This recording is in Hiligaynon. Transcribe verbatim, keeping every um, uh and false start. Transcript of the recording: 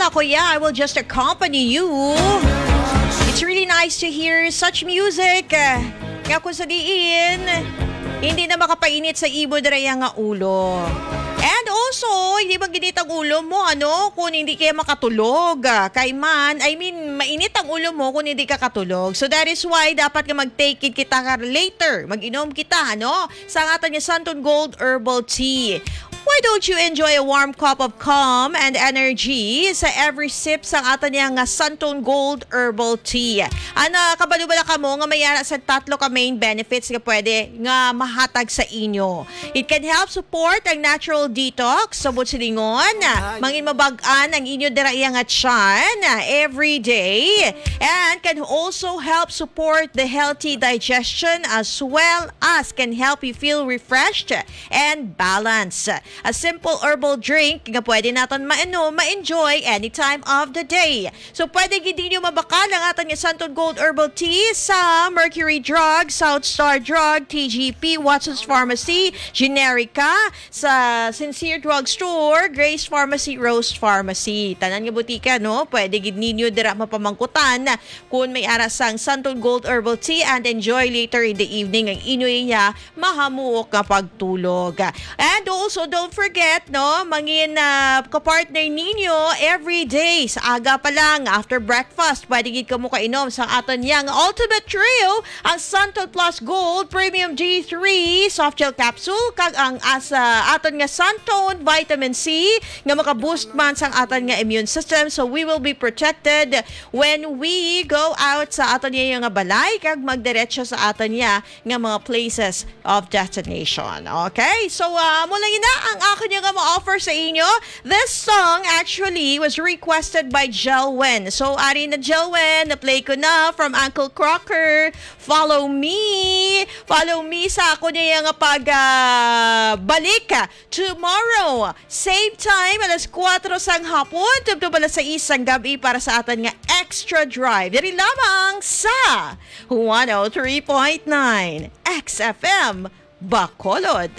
Ako, yeah, I will just accompany you. It's really nice to hear such music. Nga kung sa diin, hindi na makapainit sa imo dira nga ulo. And also, hindi mag-init ang ulo mo, ano, kung hindi kaya makatulog. Ah, kay man, I mean, mainit ang ulo mo kung hindi ka katulog. So that is why dapat nga mag-take it kita ka later. Mag-inom kita, ano, sa aton nga Santon Gold Herbal Tea. Why don't you enjoy a warm cup of calm and energy sa every sip sa aton nga Santon Gold Herbal Tea? Ana, kabalo bala kamo nga may ara sa tatlo ka main benefits nga pwede nga mahatag sa inyo? It can help support ang natural detox sa butsilingon, mangin mabag-an ang inyo dira iya nga tiyan every day, and can also help support the healthy digestion as well as can help you feel refreshed and balanced. A simple herbal drink nga pwede naton mainom, ma-enjoy any time of the day. So, pwede gid ninyo mabakal ang aton nga Santon Gold Herbal Tea sa Mercury Drug, South Star Drug, T G P, Watson's Pharmacy, Generica, sa Sincere Drug Store, Grace Pharmacy, Rose Pharmacy. Tanan nga butika, no? Pwede gid ninyo dira mapamangkutan kung may ara sang Santon Gold Herbal Tea and enjoy later in the evening ang inyo iya mahamuok nga pagtulog. And also, don't forget, no, mangin ah, ka-partner ninyo every day sa aga pa lang, after breakfast, pwede gid kamo kainom sa aton yang Ultimate Trio, ang Santon Plus Gold Premium D three Soft Gel Capsule, kag ang as, ah, aton nga Santon Vitamin C nga maka-boost man sang aton nga immune system. So we will be protected when we go out sa aton nga balay kag magdiretso sa aton nga nga mga places of destination. Okay? So, ah, amo lang ina ang akon nga ma-offer sa inyo. This song actually was requested by Jelwin. So, ari na Jelwin, na-play ko na from Uncle Crocker. Follow me. Follow me sa ako niya nga pag ah, balik tomorrow. Same time, alas kuwatro sang hapon, tubtob alas sais sang gabi para sa atan nga Extra Drive. Diri lamang sa one oh three point nine X F M Bacolod.